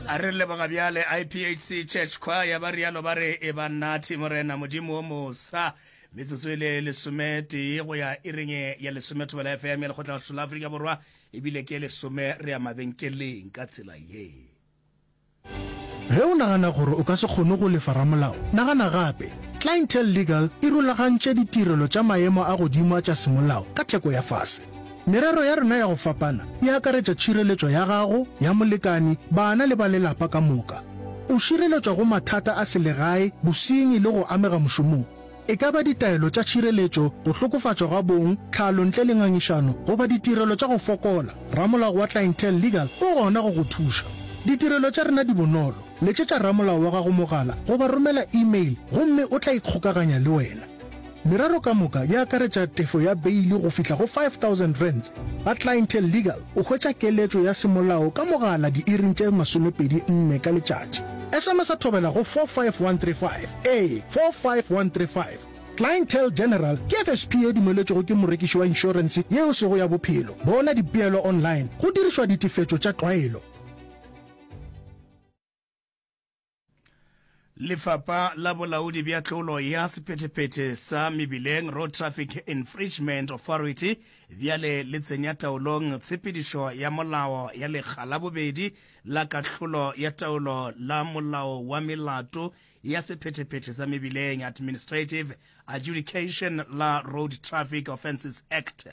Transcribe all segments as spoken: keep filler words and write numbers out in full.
A re leboga bjale I P H C Church Choir, ba rialo ba re e ba nathi Morena Modimo o mosa. Metsotso e le lesometee go ya iring ya lesome, Thobela F M ya Lekgotla la Afrika Borwa, ebile ke lesome, re ya mabenkeleng ka tsela ye. Ge o nagana gore o ka se kgone go lefa ramolao, nagana gape. Clientele Legal e rulagantše ditirelo tša maemo a godimo a tša semolao ka theko ya fase. Merero ya rena ya go fapana e akaretša tšhireletšo ya gago, ya molekani, bana le ba lelapa ka moka. O šireletšwa go mathata a selegae, bosenyi le go amega mošomong. E ka ba ditaelo tša tšhireletšo, go hlokofatšwa ga bong, tlhalo ntle le ngangišano goba ditirelo tša go fokola, ramolao wa Clientele Legal o gona go go thuša. Ditirelo tša rena di bonolo. Letšetša ramolao wa gago mogala goba romela email gomme o tla ikgokaganya le wena. Merero ka moka e akaretša tefo ya beile go fihla go five thousand rands. Ga Clientele Legal o hwetša keletšo ya semolao ka mogala diiring tše masomepedi nne ka letšatši. S M S a Thobela go four five one three five, ee, four five one three five. Clientele General ke F S P e dumeletšwego ke morekiši wa inšorense yeo sego ya bophelo. Bona dipeelo online go dirišwa ditefetšo tša tlwaelo. Lefapha la Bolaodi bja Tlolo ya Sephethephethe sa Mebileng, Road Traffic Infringement Authority, bjale le tsenya taolong tshepedišo ya molao ya lekga la bobedi la kahlolo ya taolo la Molao wa Melato ya Sephethephethe sa Mebileng, Administrative Adjudication la Road Traffic Offences Act,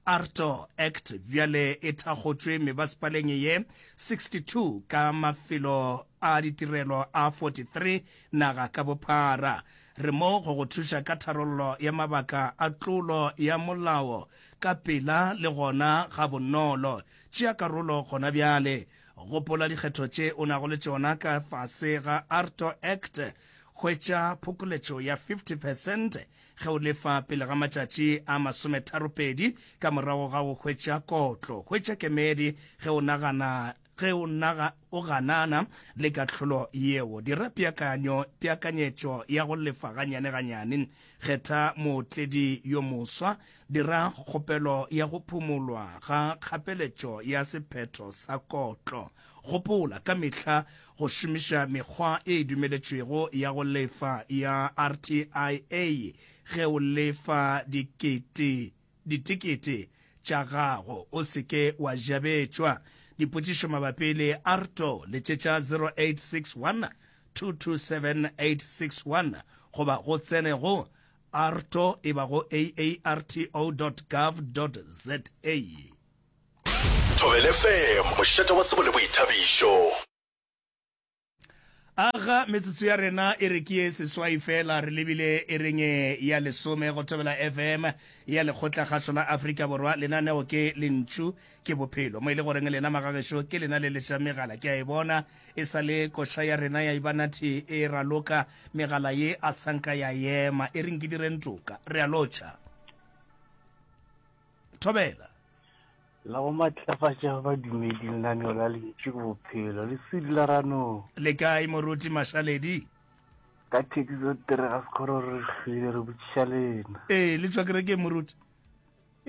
AARTO Act. Bjale e thakgotšwe mebasepaleng ye sixty-two ka mafelo a ditirelo a forty-three naga ka bophara. Re mo go go thuša ka tharollo ya mabaka a tlolo ya molao ka pela le gona ga bonolo. Tšea karolo gona bjale. Gopola dikgetho tše o nago le tšona ka fase ga AARTO Act. Hwetša phokoletšo ya fifty percent ge o lefa pele ga matšatši a masometharopedi ka morago ga go hwetša kotlo. Hwetša kemedi ge o nagana ge o naga o ganana le kahlolo yeo. Dira peakanyo peakanyetšo ya go lefa ganyane ganyane. Kgetha mootledi yo moswa. Dira kgopelo ya go phumolwa ga kgapeletšo ya sephetho sa kotlo. Gopola ka mehla go šomiša mekgwa e dumeletšwego ya go lefa ya R T I A ge o lefa dikete ditekete tša gago. O se ke wa jabetšwa. Dipotšišo mabapi le AARTO, letšetša zero eight six one two two seven eight six one goba go tsene go arto e ba go aarto dot gov dot za. Thobela F M, mošate wa tsebo le boithabišo. Aga, metsotso ya rena e re ke ye seswai fela re lebile e reng ya lesome go Thobela F M ya Lekgotla Kgašo la Afrika Borwa. Lenaneo ke Lentšu ke Bophelo, mo e le goreng lena magagešo ke lena le leša megala. Ke a e bona e sa le koša ya rena ya Ibanathi e raloka, megala ye a sanka ya ema. E reng ke direng toka. Re a lotšha, thobela. La go matlafatša badumedi, lenaneo la Lentšu ke Bophelo le sedi la ranong. Le kae, moruti Mašaledi? Ka thekiso tere ga sekgoro re hlwile, re botšiša lena. Ee, le tšwa kerekeng, moruti?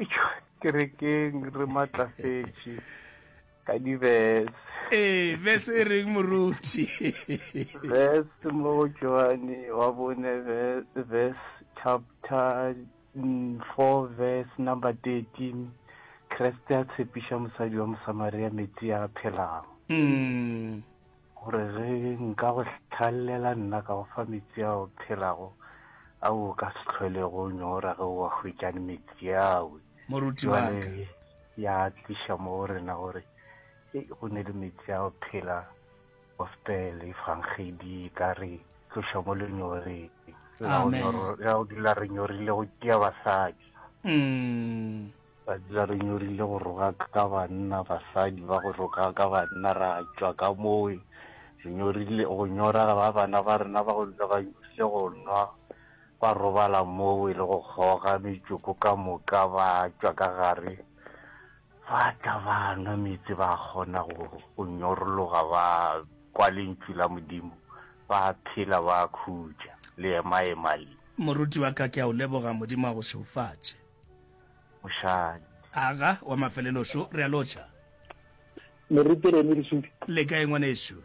Etšwa kerekeng re matlafetše ka dibese. Ee, bese e reng, moruti? Verse mo go Johane wa bone, verse chapter mm, four verse number thirteen, Kriste a tshepiša mosadi wa Mosamaria metsi a phelago mm. gore ge nka go tlhallela nna ka go fa metsi a o phelago ao o ka se tlholego nyora ge o wa hwetšane metsi ao. Moruti wa ka. Jwale ya tliša mo go rena gore e go ne le metsi a go phela, gospel, efangedi ka re tloša mo lenyoreng la go Amen. nyoro- ya go dula re nyorile go tia basadi, mm. ba dula re nyorile go roga ka banna, basadi ba go roga ka banna. Ra tšwa ka moo re nyorile go nyora ba bana ba rena ba go dula ba nyorile go nwa, ba robala moo e le go kgoga metsoko ka moka, ba tšwa ka gare ba tla ba nwa meetse, ba kgona go go nyorologa, ba kwa lentšu la Modimo, ba phela, ba khutša le emaema le. Moruti wa ka, ke a o leboga. Modimo a go šeufatše. Mošadi. Aga, wa mafelelošo, re a lotšha. Moruti Remi Lesudi. Le kae, ngwanešu?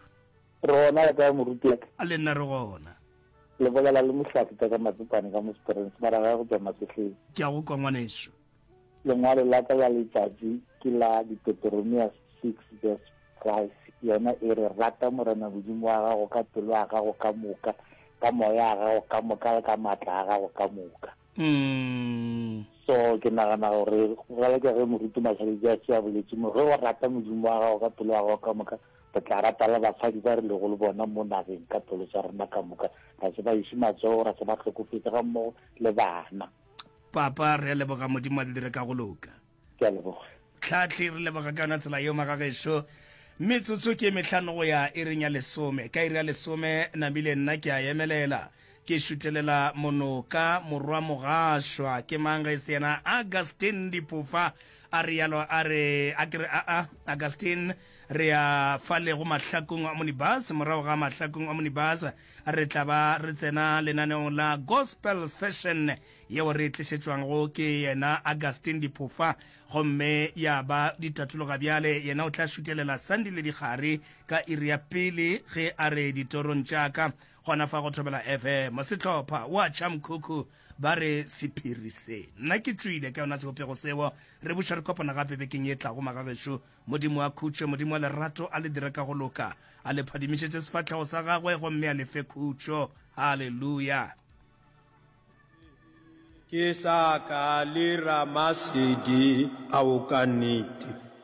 Re gona le kae moruti wa ka? A le nna re gona. Le bolela le Mohlahli tša ka Matsopane ka mo Springs, mara gae go tšwa Masehleng. Ke a go kwa ngwanešu. Lengwalo la ka la letšatši ke la Deuteronomia six verse five, yona e re, Rata Morena Modimo wa gago ka pelo ya gago ka moka, ka moya wa gago ka moka le ka maatla a gago ka moka. So ke nagana gore bjalo ka ge Moruti Mašaledi a se a boletše mo, ge o rata Modimo wa gago ka pelo ya gago ka moka, re tla rata le basadi ba re lego le bona mo nageng ka pelo tša rena ka moka, ra se ba iše matsogo, ra se ba hlokofetše gammogo le bana. Papa, re a leboga, Modimo a le dire ka go loka. Ke a leboga. Tlhahli, re leboga ka yona tsela yeo, magagešo. Metsotso ke e mehlano go ya iring ya lesome. Ka iri ya lesome, namile nna ke a emelela. Ke šutelela monoka, morwa mogašwa. Ke mang ge e se yena Augustine Diphofa? A realo a re, a ke re, aa, Augustine, re ya fale go Mahlakung Omnibus. Morago ga Mahlakung Omnibus, re tla ba re tsena lenaneong la Gospel Session yeo re e tlišetšwago ke yena Augustine Diphofa. Gomme ya ba ditatologa bjale, yena o tla šutelela Sandile Dikgari ka iri ya pele ge a re ditorong tša ka. Gona fa go Thobela F M, sehlopha wa tšha mkhukhu ba re sephiri se. Nna ke tšwile ka yona sebopego seo. Re buša re kopana gape bekeng ye tlago, magagešo. Modimo wa khutšo, Modimo wa lerato, a le dire ka go loka, a le phadimišetše sefahlego sa gagwe gomme a le fe khutšo. Haleluya! Ke sa ka le Ramasedi, ao ka nnete.